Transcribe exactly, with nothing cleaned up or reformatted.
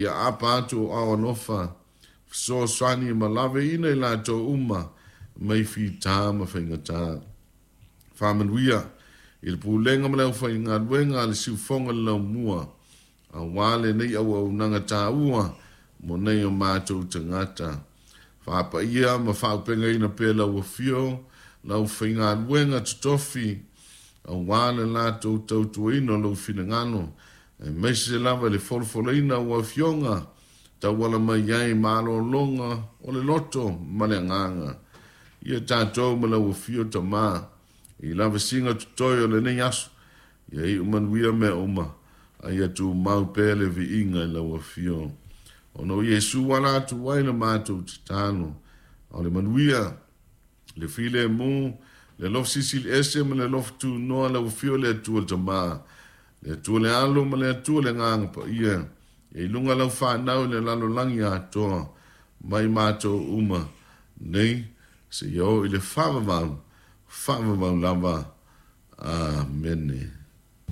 Ia aapa atu o ao alofa, fesoasoani ma laveina i latou uma mai fitā ma faigatā. Faamanuia i le pulega ma le aufaigaluega a le Siufogoga le Laumua, auā lenei auaunaga taua mo nei o matou tagata. Faapaia ma faaaupegaina pea lau afio, le aufaigaluega totofi, auā le latou tautuaina o lou finagalo, aemaise lava i le folafolaina o ua afioga tauala mai ai malologa o le loto ma le agaga. Ia tatou ma lau afio Tamā i lavasiga totoe o lenei aso, ia iu manuia mea uma, a ia tumau pea le viiga i lau afio. Ona o Iesu ala atu ai le matou tatalo, a o le manuia, le filemu, le alofa silisili ese ma le alofa tunoa lau afio le Atua le Tamā, le Atua le Alo ma le Atua le Agaga Paia, ia i luga lau fanau i le lalolagi atoa, mai matou uma nei, seia oo i le faavavau, faavavau lava. Amene.